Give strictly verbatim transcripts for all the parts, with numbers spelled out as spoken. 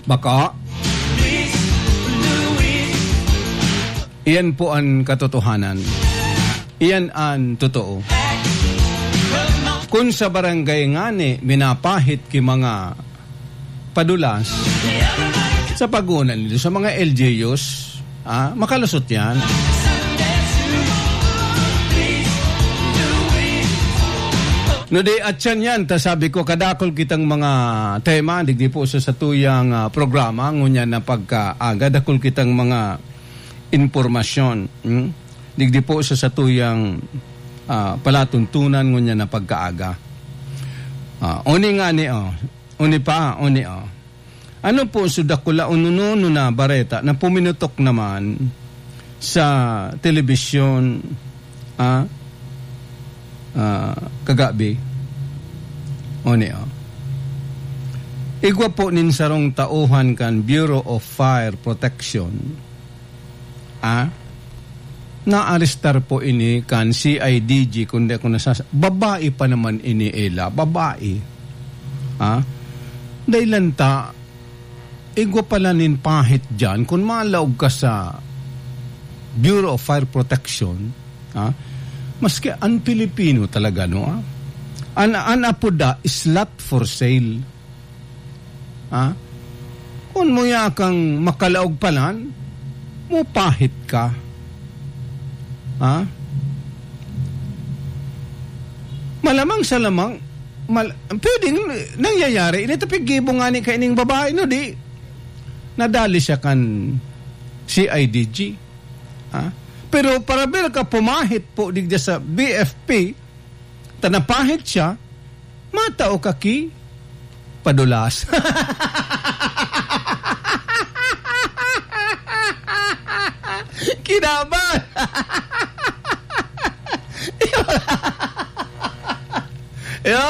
Bako? Iyan po an katotohanan. Iyan an totoo. Kun sa barangay ngani minapahit ki mga padulas, sa pagona nindo sa mga L G Us, ah, makalusot yan. No, di, at yan yan, ta sabi ko, kadakol kitang mga tema, digdi po sa satuyang, ah, programa, ngunyan na pagkaaga, dakol kitang mga impormasyon, hmm? Digdi po sa satuyang, ah, palatuntunan, ngunyan na pagkaaga. Ah, oni nga ni, oh, oni pa, oni, oh. Ano po so dakula o nununo na bareta na puminutok naman sa telebisyon, ah, ah, kagabi? Oni, oh. Igwa po nin sarong tauhan kan Bureau of Fire Protection, ah, naarestar po ini kan C I D G, kundi ako nasas-, babae pa naman ini, Ella, babae. Ah, dahil lang ta, igwa pala nin pahit dyan, kung malaog ka sa Bureau of Fire Protection, ah, maski ang Pilipino talaga, no, ah, an, an apoda, slot for sale. Ha? Kun muya kang makalaog palan, mupahit ka. Ha? Malamang sa lamang, mal-, pwedeng nangyayari. Ini ta piggibo nga ni kaining babae, no, di? Nadali siya kan C I D G. Ha? Pero para ber ka pumahit po digda sa B F P, ta napahit siya, matao ka ki padulas. Kinaban! Yo?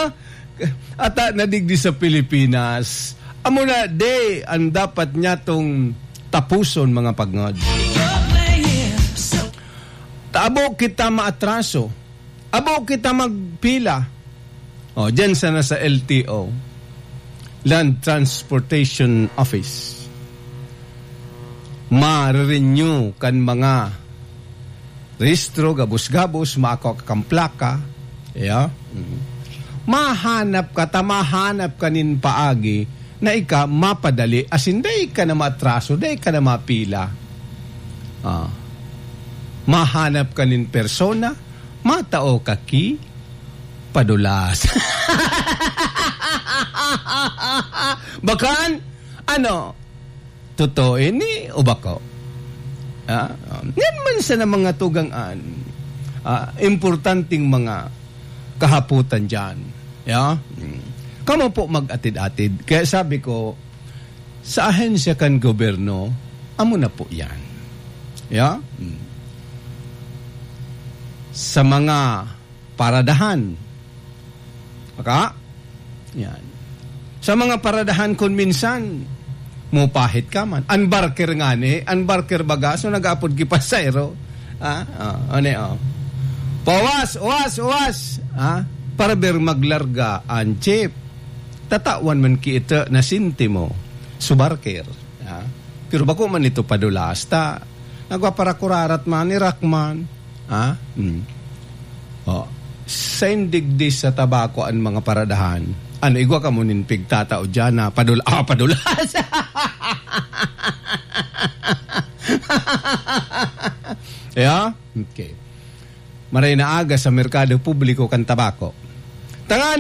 Ata na digdi sa Pilipinas. Amo na, de, ang dapat niya tong tapuson, mga pagngod. Tabo kita maatraso. Abo kita magpila. O, dyan sana sa L T O, Land Transportation Office. Ma-renew kan mga rehistro, gabos-gabos, maako ka kan plaka. Yeah? Mm. Mahanap ka, ta mahanap ka nin paagi na ika mapadali, asin dai ka na maatraso, dai ka na mapila. Ah. Mahanap ka nin persona, matao ka ki padulas. Bakan, ano, totoo ini o bako? Ah, um, yan man sana mga tugang-an, ah, importanteng mga kahapotan dyan. Ya? Hmm. Kamo po mag-atid-atid. Kaya sabi ko, sa ahensya kan gobyerno, amo na po yan. Ya? Hmm. Sa mga paradahan. Baka? Yan. Sa mga paradahan, kun minsan, mupahit ka man. An barker ngani, an barker baga, so nag-apod ki pasahero. Ah, oh, ano, oh. Pawas, uwas, uwas. Ah, para ber maglarga an jeep. Tatawan man ki ito na sentimo. So barker. Ah, pero bako man ito padulas ta. Nagpapara kurarat man, irak man. Ha? Hmm. Oh. Sa indigdi sa tabako an mga paradahan. Ano, igwa kamo nin pigtatao dyan na padul-, ah, padulas? Yeah? Okay. Maray na aga sa merkado publiko kan tabako. Tangan